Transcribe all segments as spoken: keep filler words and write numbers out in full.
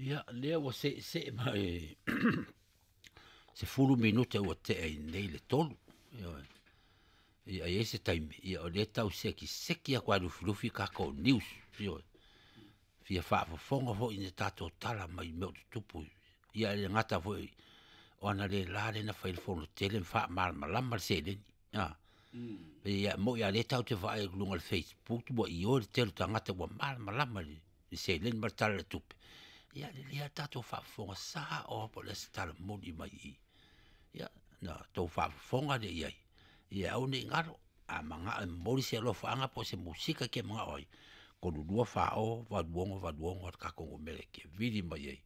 Ia, lea ua seesee mai sefulu minute ua tea i nei le tolu. Ioe. Ia, e i ai se taimi, ia o lea e tau sekiseki atu lava e lufilufi tatou news. Ioe. Fia faafofoga foi i ni tatou tala mai mea o tutupu. Ia e le gata foi o analeila lea na fai ai le fono tele ma faamalamalama le seleni. A. Ia e moni lava o lea tatou te vaai atu i luga o le Facebook ua ioe le tele o tagata ua malamalama i le seleni ma le Tala o le Tupe. Ia lelei lava le tatou faafofoga sao lava po o le a se tala moni mai i i. Ia ona outou faafofoga lea i ai, ia aua ne i galo, a manao e momoli se alofaaga po o se musika e te manao ai, tolu lua fa o valu ono valu ono le tatou numera e te vili mai ai.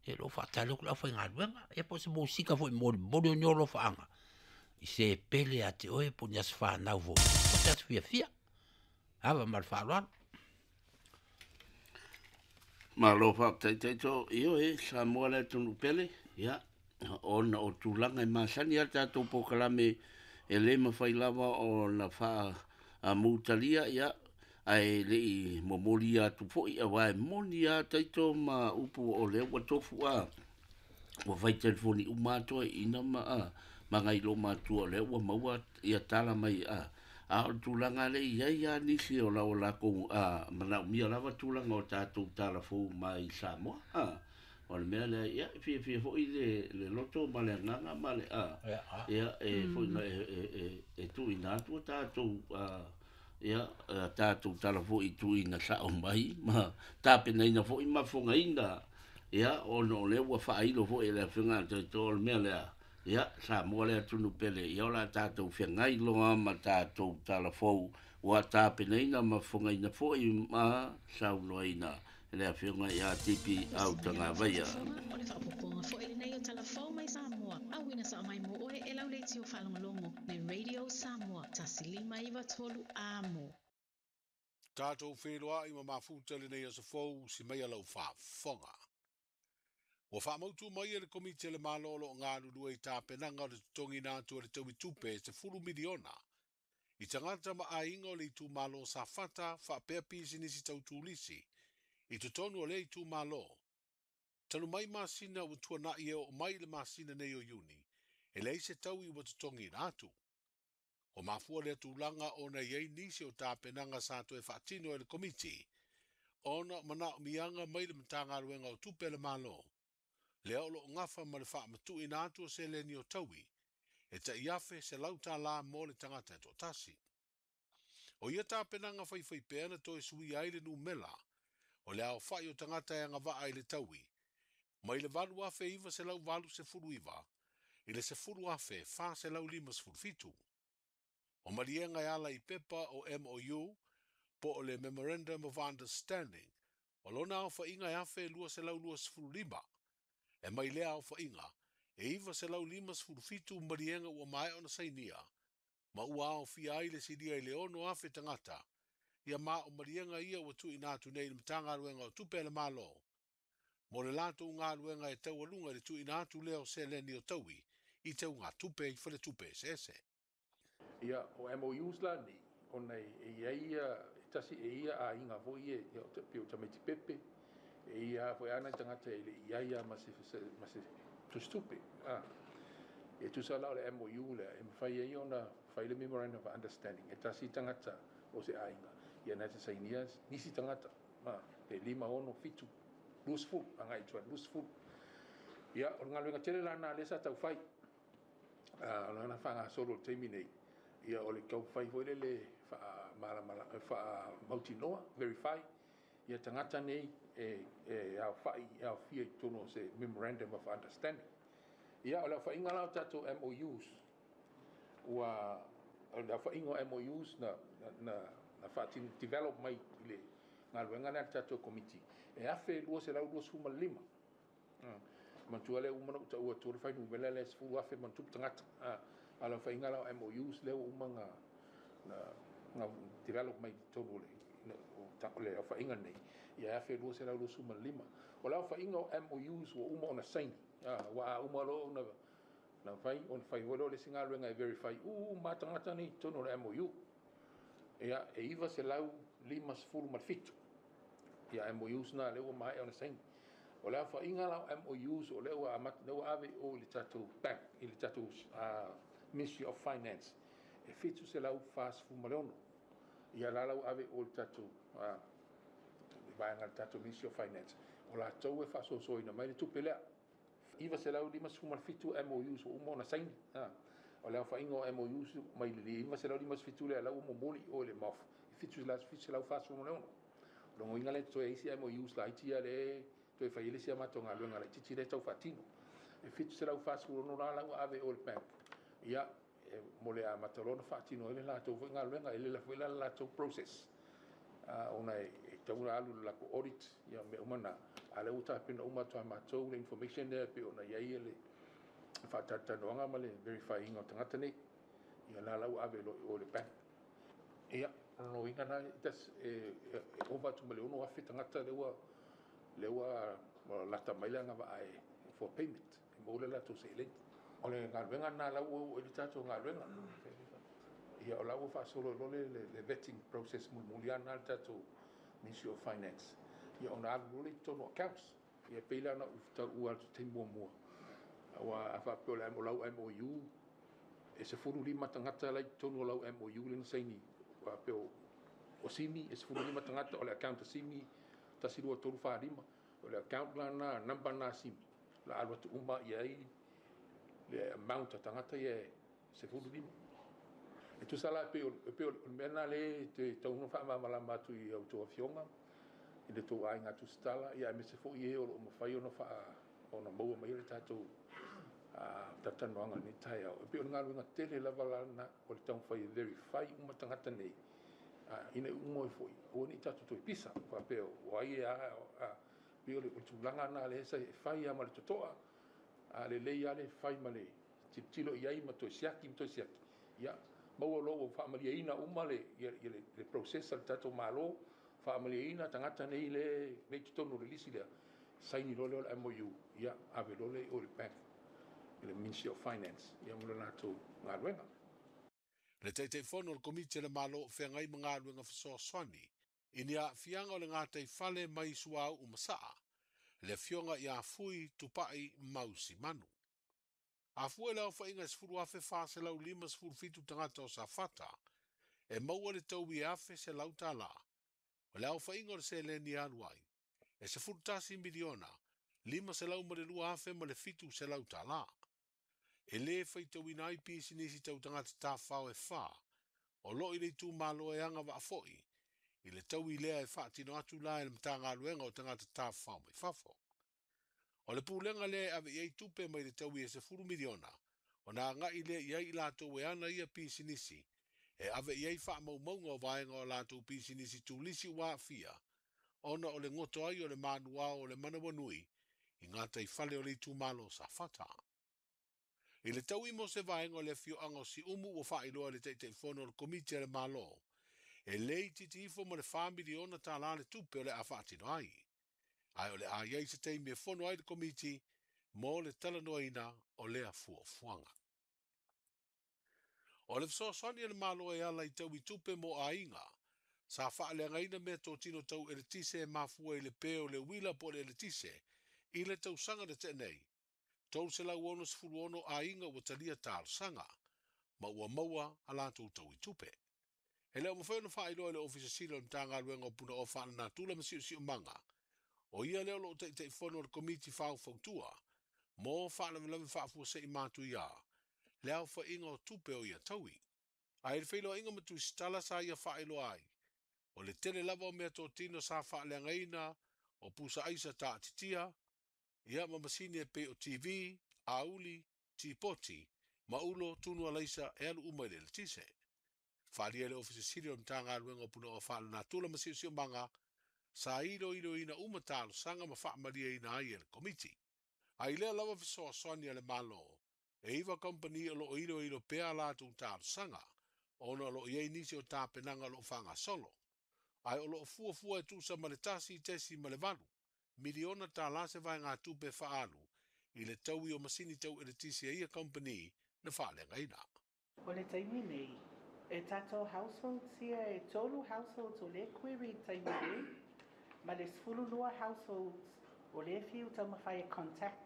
Ia o lo o faatali atu le aufaigaluega, ia po o se musika foi e molimoli o ni alofaaga i se pele ia te oe po o ni aso fanau foi, po o se aso fiafia. Ava ma le faaaloalo. Malo faafetai Taito, ioe, Samoa le atunuu pele, ia, ona o tulaga e masani a le tatou polokalame e le mafai lava ona faamutalia, ia, ae le i momoli atu foi, aua e moni lava Taito ma upu o lea ua tofu a, ua fai telefoni uma atu ai ina ma a, ma nai lo matua o lea ua maua ia tala mai a, a o le tulaga lea i ai lava nisi o lau lakou a, manaomia lava tulaga o tatou tala fou mai Samoa a. O le mea lea, ia, e fiafia foi le, le loto ma le agaga ma le a, ia, e foi na e, e, e, e tuuina atu a tatou a, ia, a tatou tala foi i tuuina sao mai ma tapenaina foi ma fogaina, ia, ona o lea ua faailo foi e le Afioga a Taito o le mea lea, ia, Samoa le atunuu pele, ia o le a tatou feagai loa ma tatou tala fou ua tapenaina ma fogaina foi ma saunoaina e le Afioga ia Tipi Autagavaia. O le faaopoopoga foi lenei o Tala Fou mai Samoa, auina sao mai mo oe e lau leitio faalogologo le Radio Samoa tasi lima iva tolu amo. Tatou feiloai ma mafuta lenei aso fou si maia lau faafofoga. Ua faamautu mai e le Komiti a le Malo o lo o galulue i tapenaga o le totogiina atu o le taui tupe e sefulu miliona i tagata ma aiga o le itumalo o Safata faapea pisinisi tau turisi i totonu o lea itumalo. Talu mai masina ua tuanai e oo mai i le masina nei o Iuni, e leai se taui ua totogiina atu. Ua mafua lea tulaga ona i ai nisi o tapenaga sa toe faatino e le Komiti ona o manaomiaga mai le Matagaluega o Tupe a le Malo, lea o lo o gafa ma le faamatuuina atu o seleni o taui e tai afe selau tala mo le tagata e toatasi. O ia tapenaga faifaipea na toe suia ai le numera o le aofai o tagata e agavaa i le taui mai le valu afe iva selau valu sefulu iva i le sefulu afe fa selau lima sefulu fitu. O maliega e ala i pepa o M O U po o le Memorandum of Understanding o lona aofaiga e afe lua selau lua sefulu lima. E mai lea aofaiga e iva selau lima sefulu fitu maliega ua maea ona sainia ma ua aofia ai le silia i le ono afe tagata ia ma o maliega ia ua tuuina atu nei i le Matagaluega o Tupe a le Malo mo le latou galuega e taualuga i le tuuina atu lea o seleni o taui i teugatupe i faletupe eseese. Ia, o M O Us la nei, ona e i ai ia, e tasi e ia aiga foi e, ia, o te, pei o tamaiti pepe, e ia foi ana tagata e le i ai ia ma se, se, ma se tusitupe. Ah. E tusa la o le M O U lea, e mawhai ai ona whai le Memorandum of Understanding, e tasi tagata o se aiga. Ia na te sainia nisi tagata, ma, e lima ono fitu, lusful, anga i tua lusful. Ia, o le galuega tele la na le sa tau whai. Ah, o le ngana whanga solo le taimi nei. Ia, o le kau whai foi le le wha maramara, wha mautinoa, verify. Ia tagata nei e, e au whai, e au fia i tono se Memorandum of Understanding. Ia, o le whainga lau tātou M O Us, ua, o le whainga o M O Us na, na, na, na whaatin develop mai i le galuega lea tātou komiti. E afe lua selau lua sefulu ma le lima. Mm. Matua lea uma na uta ua tōre whai numela lea sefulu afe mantupu tagata. Ah, a le whainga lau M O Us lea ua uma nga, na, nga develop mai tonu le, na, o ta, o le whainga nei. Ia afe lua selau lua sefulu ma le lima. O lau whainga o M O Us ua uma ona saini. Ah, ua uma lo ona na whai, ona whai hoi lo le singa luenga e verify. U, ma tagata nei tonu le M O U. Ia, e iwa selau lima sefulu ma le fitu. Ia M O Us na le ua mai ona saini. O le aofa'iga la o M O Us o lea ua amata lea ua ave i o i le tatou bank, i le tatou uh, Ministry of Finance, e fitu selau fasefulu ma le ono. Ia la la ua ave i o i le tatou uh, vaega le tatou Ministry of Finance, o latou e faasoasoaina mai le tupe lea. Iva selau limasefulu ma le fitu M O Us ua uma ona saini. O le aofa'iga o M O Us mai le iva selau limasefulu lea la ua momoli i o i le M O F e fitu selau fasefulu ma le ono. Logoina le toe isi M O Us laiti ia le toe fai le isi a matou galuega laitiiti lea tau faatino. E fitu selau fasefulu ono la la ua ave i o i le bank, ia e, mo le amata loa ona faatino ai le latou foi galuega e lela foi la le latou process uh, ona e, e tau na alu le latou audit ia mea uma na a lea ua tapena uma atu a matou le information lea pe ona i ai le faatalatalanoaga ma le verifyinga o tagata nei. Ia la la ua ave loa i o i le bank. Ia logoina na tas e, e, e ova atu ma le ono afe tagata lea ua lea ua lata mai le agavaa e for payment e maua le latou seleni. O le galuega na la ua ua i le tatou galuega. Ia o la ua faasolo loa le, le, le vetting process mulimuli ana le tatou Ministry of Finance. Ia ona alu loa le i totonu o accounts. Ia pei la ona ou taua atu taimi muamua. Ua a faapea o le o lau M O U e sefulu lima tagata la i totonu o lau M O U le na saini. Faapea o, o Simi e sefulu lima tagata o le account a Simi tasi lua tolu fa lima. O le account la na number na Simi. La alu atu uma i ai le amount a tagata ia e sefulu lima. E tusa la pe o pe o le mea na le te tau faamalamalama atu i au outou afioga i le tou aiga tusitala ia aemaise foi e o loo mafai ona faa ona maua mai le tatou talatalanoaga i lenei taeao. E pei o le galuega tele lava lana o le taumafai e verify uma tagata nei ina ia uma ai foi aua ne i tatou toe pisa faapea o ai e a. Pei o le tulaga lena lea sa e fai lava ma le toto'a a lelei lava le fai ma le tilotilo i ai ma toe siaki ma toe siaki ia maua loa ua faamalieina uma le, le, le process a le tatou Malo, faamalieina tagata nei le nei totonu o le lisi lea, saini loa lea o le M O U, ia ave loa lea i o i le bank i le Ministry of Finance ia mo le latou galuega. Le Taitaifono o le Komiti a le Malo o Feagai ma Galuega Fesoasoani i ni aafiaga o le gataifale mai suauu ma sa'a, le afioga ia Fui Tupa'i Mausimanu. Afua i le aofaiga e sefulu afe fa selau lima sefulu fitu tagata o Safata e maua le taui e afe selau tālā. O le aofaiga o le seleni e alu ai, e sefulu tasi miliona, lima selau ma le lua afe ma le fitu selau tālā. E lē faitauina ai pisinisi tau tagata tafafao e fā, o loo i le itumalo e agavaa foi, i le taui lea e faatino atu la e le Matagaluega o Tagata Tafafao mai Fafo. O le pulega lea e ave i ai tupe mai le taui e sefulu miliona, ona aga'i lea i ai i latou e ana ia pisinisi, e ave i ai faamaumauga o vaega o latou pisinisi turisi ua aafia, ona o le goto ai o le manuao o le manawanui i gataifale o le itumalo o Safata. I le taui mo se vaega o le afioaga o Siumu ua faailoa e le Taitaifono o le Komiti a le Malo, e lē itiiti ifo ma le fa miliona tālā le tupe o le a faatino ai. Ae o le a i ai se taimi e fono ai le Komiti mo le talanoaina o lea fuafuaga. O le fesoasoani a le Malo e ala i taui tupe mo aiga sa faaleagaina meatotino tau eletise e mafua i le pē o le uila po o le eletise i le tausaga na tea nei, tolu selau onosefulu ono aiga ua talia talosaga ma ua maua a latou taui tupe. E le o mafai ona faailoa e le Ofisa Sili o le Matagaluega o Punaoa Faalenatura ma Siosiomaga, o ia lea o loo Taitaifono o le Komiti Faufautua mo Faalavelave Faafuasei Matuia, le aofaiga o tupe o ia taui. Ae i le feiloaiga ma tusitala sa ia faailoa ai, o le tele lava o meatotino sa faaleagaina o pusa aisa taatitia, ia ma masini e pei o T V, auli, tipoti, ma ulo tunu alaisa e alu uma i le eletise. Faaalia le Ofisa Sili o le Matagaluega o Punaoa Faalenatura ma Siosiomaga sa iloiloina uma talosaga ma faamalieina ai e le Komiti. Ae i lea lava fesoasoani a le Malo, e iva kamupani o loo iloilo pea a latou talosaga, ona o loo i ai nisi o tapenaga o loo faagasolo. Ae o loo fuafua e tusa ma le tasi tesi ma le valu miliona tālā se vaegatupe faaalu i le taui o masini tau eletise a ia kamupani na faaleagaina. O le taimi nei, e tatou households ia e tolu households o le query i taimi nei, ma le sefulu lua households O lea e fiu taumafai e contact.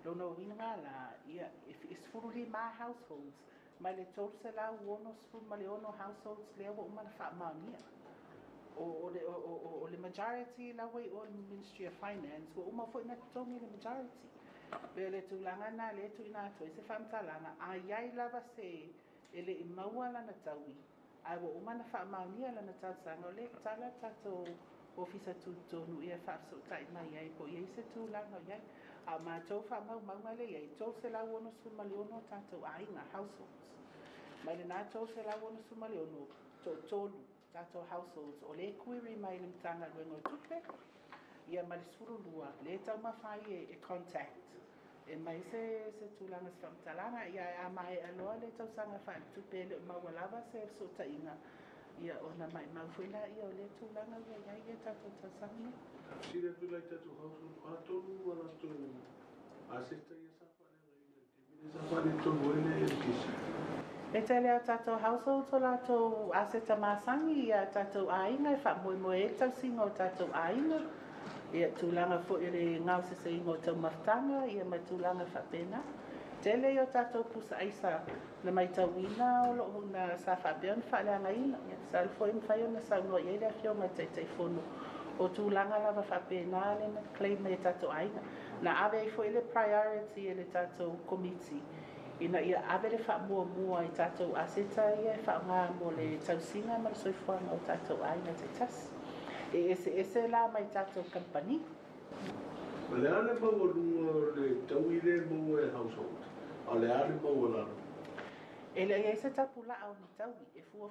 Lona uiga la, ia, e sefululima households mai le tolu selau ono sefulu ma le ono households lea ua uma ona faamaonia. O, o, le, o, o, o le majority la ua i o le Ministry of Finance, ua uma foi na totogi le majority. Pe o le tulaga lena lea e tuuina atu ai se faamatalaga, a i ai lava se e le i maua lana taui, ae ua uma ona faamaonia lana talosaga, o lea e tatala le tatou ofisa tutotonu ia e faafesootai mai ai po o i ai se tulaga o i ai. A o matou faamaumauga lea e i ai, tolu selau ono sefulu ma le ono tatou aiga, households. Mai lena tolu selau ono sefulu ma le ono, toatolu tatou households o lea e query mai i le Matagaluega o Tupe, ia ma le sefulu lua lea e taumafai e, e contact e mai se, se tulaga se faamatalaga. Ia a maea loa le tausaga faaletupe e le o maua lava se fesootaiga, ia ona maimau foi laia o lea tulaga ua i ai ia tatou tausaga nei. Fesili atu la i tatou household, o a tonu a latou aseta ia sa faaleagaina i le taimi lea sa faaletonu ai le L T C? E tele o tatou households o latou aseta masani ia tatou aiga e faamoemoe ai le tausiga o tatou aiga, ia tulaga foi o le gaoseseiga o taumafataga, ia ma tulaga faapena. Tele ia o tatou pusa aisa na maitauina o loo na sa faapea ona faaleagaina. Ia masalo foi e mafai ona saunoa i ai le afioga i le Taitaifono o tulaga lava faapena le na claim mai e tatou aiga. Na ave ai foi le priority e le tatou komiti ina ia ave le faamuamua i tatou aseta ia e faaaoga mo le tausiga ma le soifuaga o tatou aiga taitasi. E eseese la mai tatou kamupani. O le a le maualuga o le taui lea e maua e household, a o le a le maualalo? E le i ai se tapulaa o ni taui e fua